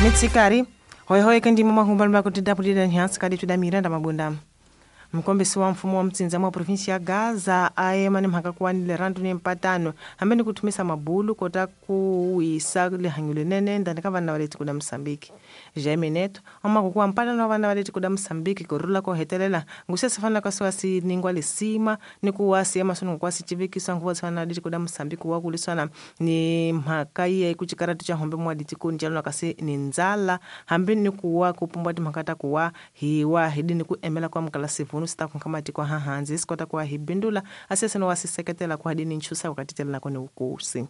Mitsikari hoyihoyi ke ndimo mahumba kuti dapulira nhansi kadi tuda Miranda Mabunda. Mkombisi wa mfumo wa mtsinza mwa provinsi ya Gaza aema ni mhaka kuwanile randu ni mpatano hambe ni kuthumisa mabulu kota kuwisa lihanyo linene ndani ka vana va le tiko la Mosambiki. Jaime Neto amaku kuwa mpatano wa vana va le tiko la Mosambiki kurula ko hetelela ngusese fanela ka siwa si ningwa lisima ni kuwa si emahlweni kuwa si civikiswa nguva tshwana la tiko la Mosambiki wa kuliswana ni mhaka ye ku cikaratu cha hombe mwa ditikoni cha lona kasi ni ndzala hambi ni kuwa ku pumbwa timhaka ta kuwa hiwa hidini ku emela kwa mukala sivunu sita kunka matiko hahanzi sikota kuwa hi bindula asese wa siseketela ku hadini nchusa wakatitela nako ni ukosi.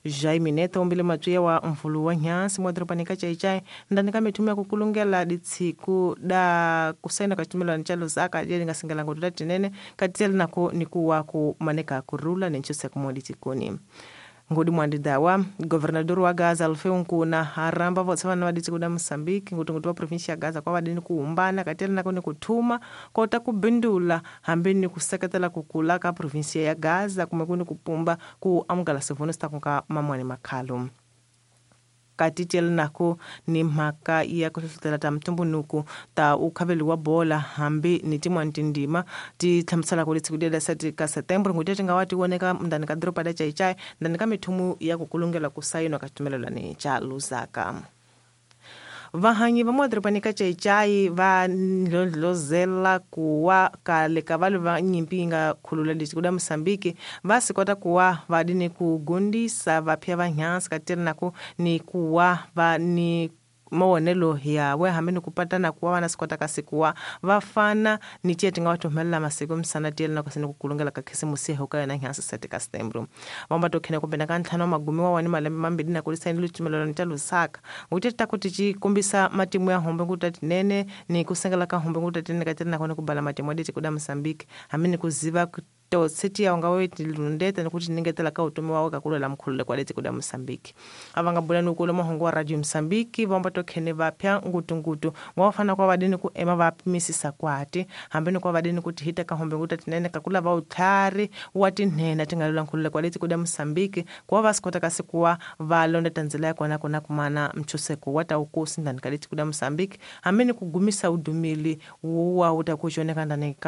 Jaime Neto umbile matwiya wa mvulu wa nyansi mwa doroba nika chaichai ndani ka mithumu ya kukulungela ditsiku da kusaina kachitumela nchalo zaka jeli ngasingela ngoto tinene katitela nako ni kuwa ku maneka kurula ni nchusa kumwa ditikoni. Ngudi mwandidawa governador wa Gaza Alfeu Nkuna haramba votse vana va ditiko da Mosambiki ngutungutu wa provinsi ya Gaza kwa vadini kuumbana katela nako ni kuthuma kota kubindula hambi ni kuseketela kukula ka provinsi ya Gaza kumbe kuni kupumba ku amukela sivuno sitakunka mamwani makhalo. Katitela nako ni mhaka ya ku hlohlotela ta mtumbunuku ta ukhaveli wa bola hambi ni tin'wani tindima ti hlamusela ku letshiku lela sati ka September n'hweti ti nga wa ti voneka ndani ka doroba la Chaichai ndani ka mithumu ya ku kulungela ku sayinwa ka xitumelelani cha Lusaka. Vahanyi va madorobani ka Chaichai va ndlondlozela kuwa kale ka valwi va nyimpi yi nga khulula lexi da Mosambiki va swi kota kuwa va ni ku gundisa vaphya va nhansi kateri nako ni kuwa va ni mawonelo yawe hambi ni ku patana kuwa vana swi kota kasi kuwa va fana ni tiye ti nga va thumelela masiku misana tiyele na kasi ni ku kulungela ka khisimusi ho ka yona nhansi sete ka Setembro. Vamba to khene kumbe na ka ntlhanu wa magumi wa wani malembe mambirhi na ku lisayini litumelelano ta Lusaka nguti ta ku ti ci kombisa matimu ya hombe nguta tinene ni ku sengela ka hombe nguta tinene ka tiri nakona ku bala matimu ya tiko la Mosambiki hambi ni ku ziva totsi ya nga we tilundeta ni kuti ningetela ka utomi wa ka kulela mkhulule kwa leti kuda Mosambiki. Avanga bula nukula mahongo wa Radio Mosambiki vamba to khene vapya ngutungutu ngwa fana kwa vadini ku ema va pimisisa kwati hambi ni kwa vadini kuti hita ka hombe nguta tinene ka kula va utlhari wa tinhena tingalula nkhulule kwa leti kuda Mosambiki kwa va sikota kasi kuwa va londa tanzela ya kona kona kumana mchuseko wa ta ukosi ndani ka leti kuda Mosambiki hambi ni kugumisa udumili wa utakuchoneka ndani ka